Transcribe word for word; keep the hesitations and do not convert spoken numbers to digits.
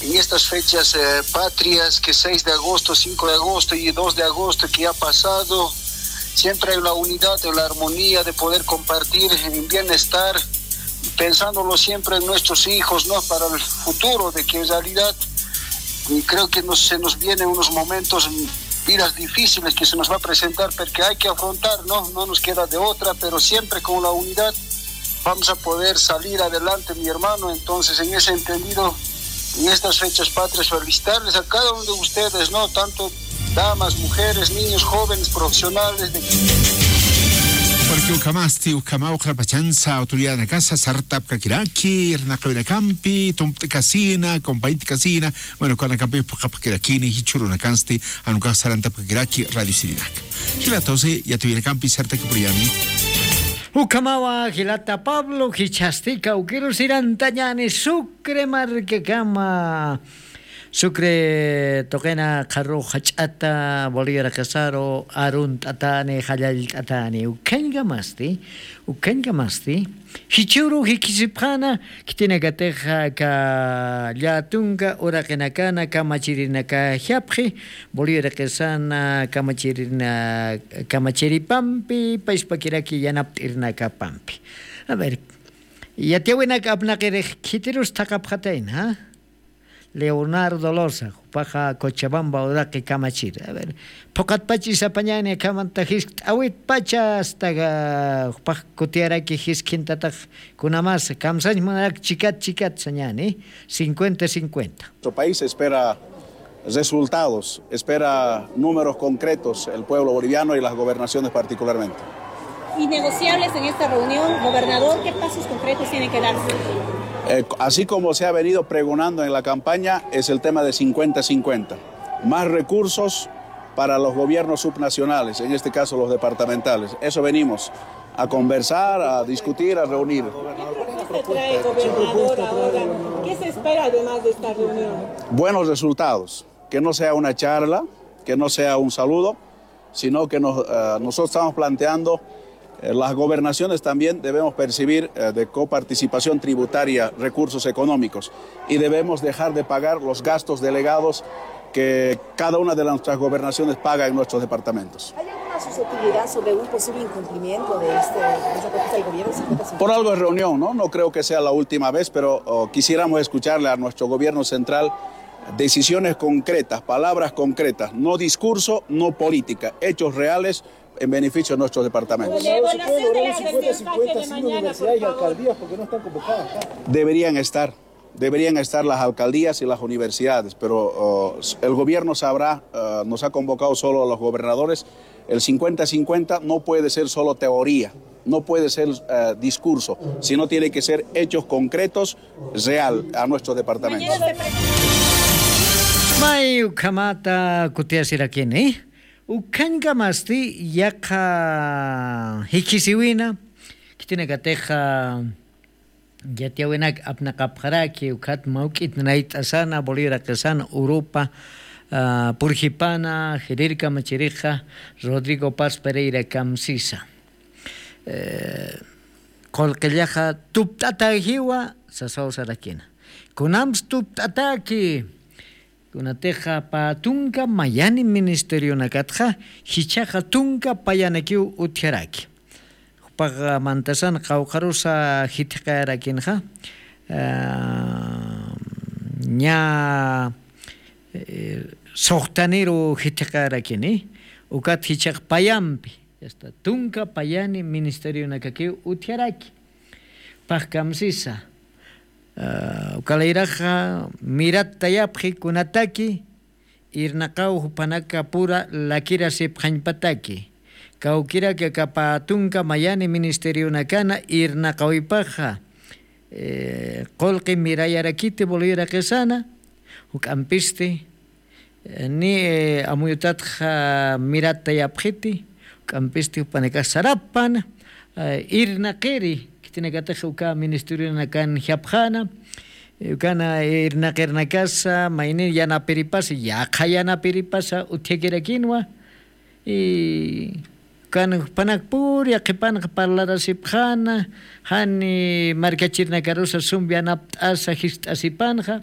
En estas fechas eh, patrias, que seis de agosto, cinco de agosto y dos de agosto que ha pasado, siempre hay una unidad, una armonía de poder compartir en bienestar, pensándolo siempre en nuestros hijos, ¿no? Para el futuro, de que en realidad mm, creo que nos, se nos vienen unos momentos, mm, vidas difíciles que se nos va a presentar, porque hay que afrontar, ¿no? No nos queda de otra, pero siempre con la unidad vamos a poder salir adelante, mi hermano. Entonces, en ese entendido, en estas fechas patrias, felicitarles a cada uno de ustedes, ¿no? Tanto damas, mujeres, niños, jóvenes, profesionales. De... Porque ukhamasti, ukhamaw qharpachansa, autoridadnakasa sartapkakiraki, irnaqawinakampi, tumpt'kasina, compañt'kasina, bueno, ukanakampi phuqhapkakirakini, jichhürunakansti, jan ukax sarantapkakiraki, radio sirinak. Jilata José, yatiyawinakampi sartakipuriyani. Ukhamawa jilata Pablo, jichhasti kawkïru sirantañäni Sucre markakama. Sucre tuqina qharürux jach'ata, Bolivia raqisaru arunt'atäni, jallallt'atäni. Ukhañkamasti, ukhañkamasti. Jichhüru jikhisipxäna, khitinakatix aka llätunka uraqinakana kamachirinakajapxi, Bolivia raqisan kamachirina, kamachiripampi, pachpakiraki yanapt'irinakapampi. A ver, yatiyäwinak apnaqirix khitirus thaqhapxatayna, ¿ah? Leonardo Loza, jupaxa Cochabamba uraqi kamachiri. A ver, phuqhatpach isapañäni, akhamanta jiskt'awitpacha hasta jupax kutiyaraki jiskintataq kunamasa, kamsañ munarak chikat chikat sañäni, cincuenta cincuenta. Nuestro país espera resultados, espera números concretos el pueblo boliviano y las gobernaciones particularmente. Innegociables en esta reunión, gobernador, ¿qué pasos concretos tienen que darse? Eh, así como se ha venido pregonando en la campaña, es el tema de cincuenta cincuenta. Más recursos para los gobiernos subnacionales, en este caso los departamentales. Eso venimos a conversar, a discutir, a reunir. ¿Qué se trae, gobernador, ahora? ¿Qué se espera además de esta reunión? Buenos resultados, que no sea una charla, que no sea un saludo, sino que nos, eh, nosotros estamos planteando, eh, las gobernaciones también debemos percibir, eh, de coparticipación tributaria recursos económicos y debemos dejar de pagar los gastos delegados que cada una de nuestras gobernaciones paga en nuestros departamentos. ¿Hay alguna susceptibilidad sobre un posible incumplimiento de, este, de esa propuesta del gobierno del cincuenta cincuenta? Por algo es reunión, ¿no? No creo que sea la última vez, pero, oh, quisiéramos escucharle a nuestro gobierno central decisiones concretas, palabras concretas, no discurso, no política, hechos reales en beneficio de nuestros departamentos. Gobernador, ¿se puede lograr un cincuenta cincuenta sin universidades y alcaldías porque no están convocadas acá? Deberían estar, deberían estar las alcaldías y las universidades, pero, oh, el gobierno sabrá, eh, nos ha convocado solo a los gobernadores. El cincuenta cincuenta no puede ser solo teoría, no puede ser, eh, discurso, sino tiene que ser hechos concretos, real a nuestros departamentos. May ukhamata kutiyasirakini, ukhañkamasti yaqha jikhisïwina, khitinakatixa yatiyäwinak apnaqapxaraki, ukat mawk'it nayt'asana, Bolivia raqisan, Europa, ah, purjipana, jirir kamachirixa, Rodrigo Paz Pereira kamsisa. Eh, qullqillaxa tupt'atäjiwa, sasaw sarakina. Kunamps tupt'atäki, kunatixa pä tunka mayani ministerionakatxa, jichhaxa tunka payanakiw utjaraki. Jupax mantasan qawqharusa jithiqayarakinxa, ah, ña, eh, suxtaniru jithiqayarakini, ukat jichhax payampi, hasta tunka payani ministerionakakiw utjaraki. Pax kamsisa, ah, uka layraxa mirattayapxi kunataki, irnaqaw jupanakapura lakirasipxañpataki. Kawkiraki aka pä tunka mayani ministerionakana irnaqawipaxa, eh, qullqi mirayarakiti Bolivia raqisana, juk'ampisti, eh, ni, eh, amuyutatxa mirattayapxiti, juk'ampisti jupanakax sarapana, eh, irnaqiri, khitinakatix uka ministerionakan japxana, eh, ukana irnaqirnakasa, mayni yanapiripasa, yaqha yanapiripasa utjakirakinwa, y ukan jupanakpura qhipanxa parlarasipxana, jani markachirnakarusa sum yanapt'asa jist'asipanxa,